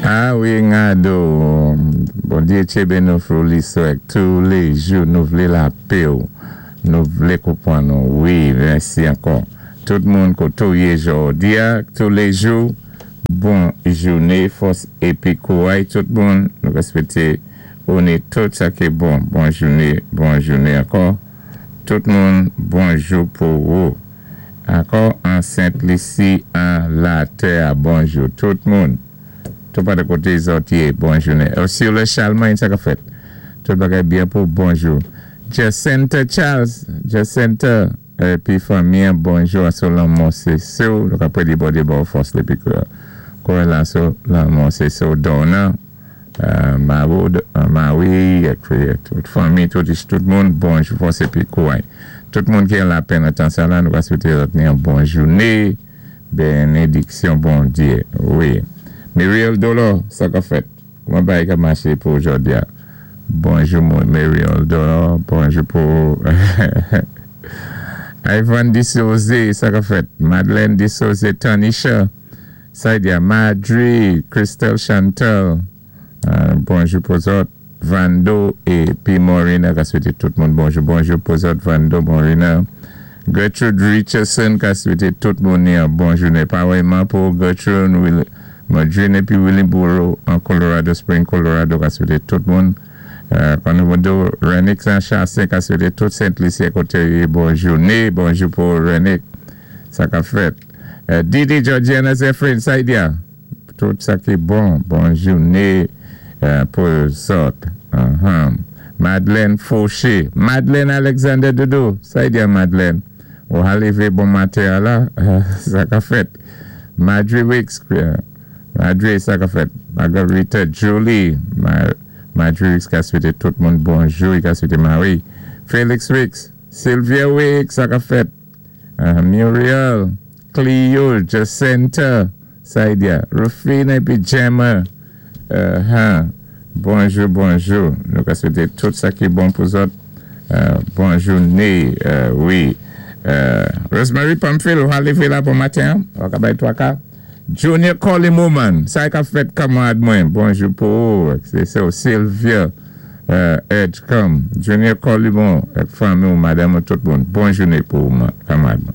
A wi, Ngado, Bondyé tjébé nou Fouliso èk touléjou nou vlé lapé ou, nou vlé konpwann ou. Wi, mèsi ankò. Tout moun koté ou yé jòdi-a, touléjou, bon jouné, fòs épi kouray tout moun, nou wéspékté ou ni tout sa ki bon. Bon jouné, bon jouné ankò. Tout moun, bonjou pou ou. Ankò an Sent Lisi an latè-a, bonjou tout moun. Tout pa de koté zòt yé, bon jouné. Ursula Chalmagne, sa ka fèt? Tout bagay byen pou bonjou. Jacinta Charles, Jacinta, épi fanmi, bonjou sou lanmò sé sou, nou ka prédé Bondyé ba ou fòs épi kouray la sou lanmò sé sou Donna, Maroud, Marie, épi tout fanmi, tout, tout moun, bonjou, fòs épi kouray. Tout moun ki an lapenn nan tan sa la, nou va swété yon bon jouné, bénédiksyon Bondyé, wi. Muriel Dolo, sa ka fèt? Kouman bagay ka maché pou jòdi-a? Bonjou Muriel Dolo, bonjou pou Ivan Disose, sa ka fèt? Madeleine Disose, Tanisha, Saidia, Madrid, Christelle Chantal, bonjou pou zòt. Vando épi Morina, ka swété tout moun bonjou. Bonjou pou zòt, Vando, Morina. Gertrude Richardson, ka swété tout moun yon bon jouné. Pawèyman pou Gertrude, Will, Madrine épi Willie Burrow an Colorado Spring, Colorado, ka swété tout moun. Konomodo, Renick Saint-Chassin, ka swété tout Sent-Lisyen koté bon jouné. Bonjou pou Renick. Sa ka fèt. Didi Georgiana Zephyrin, Saidia. Tout sa ki bon, bon jouné pou zòt. Madeleine Fauché. Madeleine Alexander Doudou. Saidia Madeleine. Ou lévé bon maten la, sa ka fèt. Madre Wicks. Madre, sa ka fèt. Margarita Julie. Madre Wicks ka swété tout moun bonjou. Ka swété Marie. Félix Wicks. Sylvia Wicks, sa ka fèt. Muriel. Cleo Jacinta. Saidia. Rufina épi Gemma. Bonjou, bonjou. Nou ka swété tout sa ki bon pou zòt. Bon jouné, wi. Rosemary Pamphile, ou lévé la bon maten? Ou ka bay twaka? Junior Colin Moman, sa ka fèt kanmarad mwen. Bonjou pou ou. Sé sa, Sylvia Edgecombe. Junior Colimon, fanmi ou madanm tout moun. Bon jouné pou ou, kanmarad mwen.